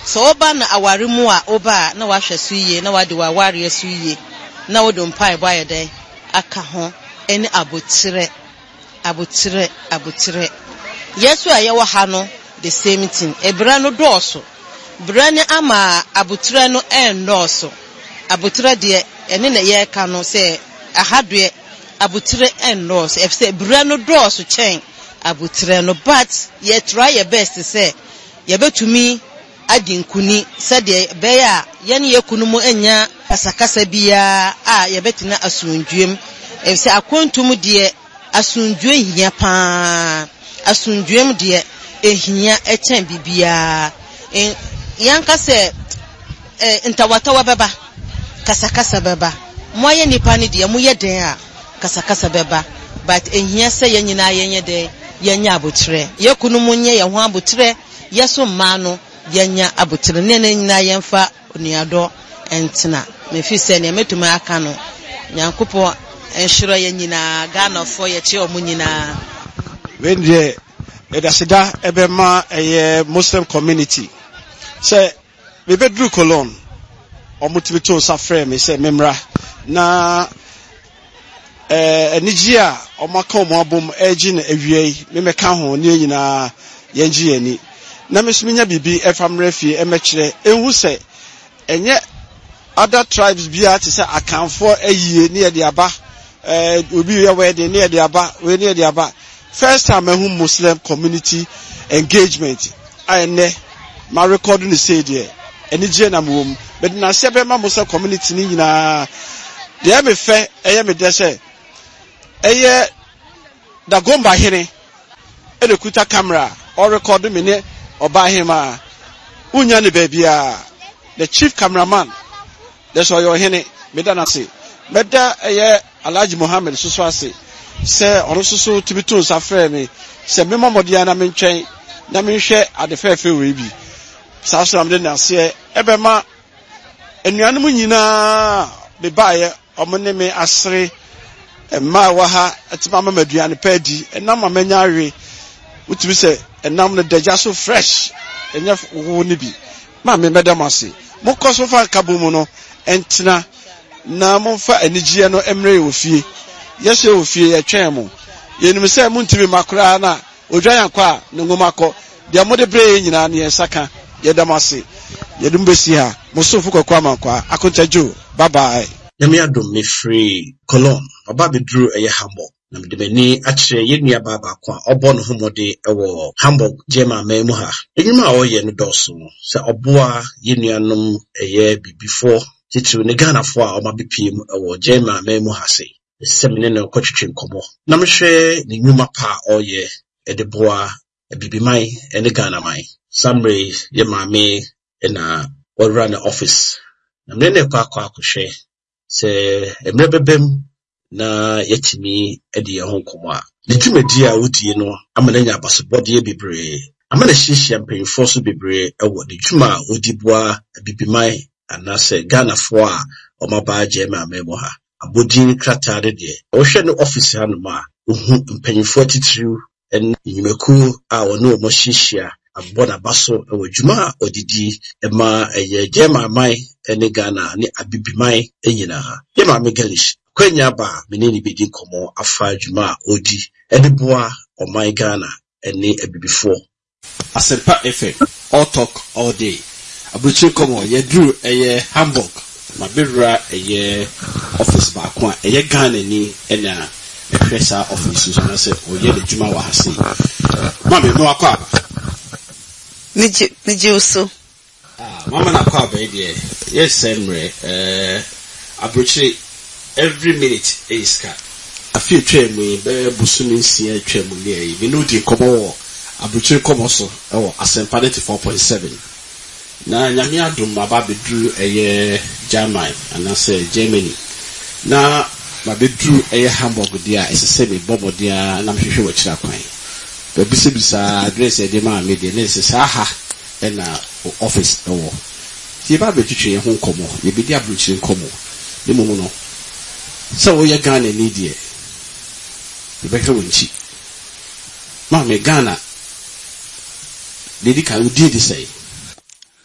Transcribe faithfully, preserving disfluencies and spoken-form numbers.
Sɛ woba no aware mu a, woba a na wahwɛ so yie na wade w'awareɛ so yie na wode mpaebɔ ayɛ dɛn aka ho ne abotrɛ, abotrɛ, abotrɛ. Yɛn nso a yɛwɔ ha no, the same thing. Ebrɛ no dɔɔso. Brɛ no ama abotrɛ no ɛnnɔɔso. Abotrɛ deɛ, ɛne na yɛreka no sɛ aha deɛ abotrɛ ɛnnɔɔso ɛfisɛ brɛ no dɔɔso kyɛn abotrɛ no, but yɛ try yɛ best sɛ yɛbɛtumi adi nkuni sɛdeɛ ɛbɛyɛ a yɛne yɛn kunu mu anya kasakasa biara a yɛbɛtena asomdwoe mu, ɛfisɛ akwantu mu deɛ, asomdwoe hia paa. Asomdwoe mu deɛ, ehia ɛkyɛn biribiara. Yɛnka sɛ ntawatawa bɛba, kasakasa bɛba. Mo ayɛ nipa no deɛ, moyɛ den a kasakasa bɛba, but ehia sɛ yɛn nyinaa yɛnyɛ den, yɛnyɛ abotrɛ. Yɛn kunu mu nyɛ yɛn ho abotrɛ, yɛ so mmaa no yɛnya abotrɛ ne ne nyinaa yɛmfa onuadɔ ntena. Mefi sɛ nea mɛtumi aka no, Nyankopɔn nhyira yɛn nyinaa. Ghanafoɔ, yɛkyerɛ ɔmo nyinaa. Wei deɛ, yɛde aseda ɛbɛma ɛyɛ Muslim community sɛ mebɛduru Cologne, ɔmo tumi to nsa frɛ me sɛ memmra na ɛɛ anigye a ɔmo aka ɔmo abom ɛregye no awia yi, memɛka ho ne yɛn nyinaa yɛngye yɛn ani na me nso menya biribi ɛfa mmerɛ fie ɛmɛkyerɛ ehu sɛ ɛnyɛ other tribes biara te sɛ Akanfoɔ ayie ne yɛde aba, ɛɛ obi yɛ wedding ne yɛde aba wei ne yɛde aba. First time ɛho Muslim community engagement a ɛnɛ ma record ne sei deɛ, anigye na mewɔ mu. Mede n'aseɛ bɛma Muslim community ne nyinaa. Deɛ ɛyɛ fɛ, ɛyɛ me dɛ sɛ ɛyɛ Dagomba hene ɛna kuta camera ɔrekɔdo me ne ɔbaa hema. Wonya ne baabiara, the chief cameraman dɛ sɛ ɔyɛ ɔhene, meda n'ase. Mɛda ɛyɛ Alhaji Mohammed soso ase sɛ ɔno nso so tumi to nsa frɛ me sɛ memmɔ mmɔden na mentwɛn na menhwɛ ade fɛɛfɛ wei bi. Saa so na mede n'aseɛ ɛbɛma anuanom nyinaa mebaeɛ, ɔmo ne me asere. Mmaa a ɛwɔ ha ɛtumi ama me aduane pa adi, ɛnam a manya awe, wotumi sɛ ɛnam no dagya so fresh, ɛnyɛ wo ne bi. Maame, mɛda mo ase. Mokɔ so fa nkabom mu no ɛntena na momfa anigyeɛ no mmerɛ wɔ fie. Yɛsɛ wɔ fie yɛtwɛn mo. Yɛnim sɛ montumi mma koraa na odwan akɔ a ne nwoma kɔ deɛ mode berɛ yɛ nyinaa ne yɛn nsa ka. Yɛda mo ase. Yɛde mo bɛsi ha. Mo somfo Kɔkɔ Amankwa Akontadwo. Bye bye. Nyame adom, mefiri Cologne ɔba abɛduru ɛyɛ Hamburg na mede m'ani akyerɛ yɛn nuabaa baako a ɔbɔ ne ho mmɔden wɔ Hamburg, German man mu ha. Nnwuma a ɔreyɛ no dɔɔso sɛ ɔboa yɛn nuanom ɛyɛ bibifoɔ, titiriw ne Ghanafoɔ a ɔma bepie mu wɔ German man mu ha se. Ɛsɛ sɛ me ne no kɔtwetwe nkɔmmɔ na mehwɛ ne nnwuma pa a ɔreyɛ de boa Abibiman ne Ghana man. Saa mmerɛ yi, yɛ maame na wɔwura ne office na mene ne kɔ akɔ akɔhwɛ sɛ mmerɛ bɛba mu na yɛatumi adi yɛn ho nkɔmmɔ a ne dwumadi a wodie no ama no anya abasobɔdeɛ bebree, ama no ahyiahyia mpanyinfoɔ so bebree wɔ ne dwuma a wodi boa Abibiman anaasɛ Ghanafoɔ a wɔaba German man mu ha. Abɔdin krataa no deɛ, wɔhwɛ no office hanom a, wohu mpanyinfoɔ atitiriw ne nnwumakuo a wɔne wɔn ahyiahyia abɔ n'aba so wɔ dwuma a ɔde di ma ɛyɛ German man ne Ghana ne Abibiman nyinaa. Yɛ maame Galish akwanya aba a me ne ne bɛdi nkɔmmɔ afa dwuma a ɔdi de boa ɔman Ghana ne abibifoɔ. Asɛmpa F M, all talk all day, aburokyire nkɔmmɔ. Yɛduru ɛyɛ Hamburg, mabɛwura ɛyɛ office baako a ɛyɛ Ghana ni ɛna ɛhwɛ saa office yi so anaasɛ ɔyɛ n'adwuma wɔ ha sei. Maame, me wakɔ aba. Megye megye wo so. Ah, mama no akɔ aba yi deɛ, yɛsɛ mmerɛ ɛɛ aburokyire, every minute ɛyɛ sika. Afi atwa mu yi, bɛyɛ bosome nsia atwa mu ne ɛyi, me ne wodi nkɔmmɔ wɔ aburokyire nkɔmmɔ so ɛwɔ Asɛmpa ninety four point seven na Nyame adom aba abɛduru ɛyɛ German anaasɛ Germany na mabɛduru ɛyɛ Hamburg deɛ a, ɛsɛ sɛ mebɔ mmɔden a na mehwehwɛ wɔ akyire akwan baabisabisaa address a ɛde maa me deɛ na ɛsɛ saa ha ɛna office ɛwɔ. Nti yɛba abɛtwitwe yɛn ho nkɔmmɔ, yɛbɛdi aburokyire nkɔmmɔ. Ne mmom no, sɛ woyɛ Ghana ni deɛ, yɛbɛhwɛ wo nkyi. Maame, Ghana deɛ, di kan, wodin de sɛn?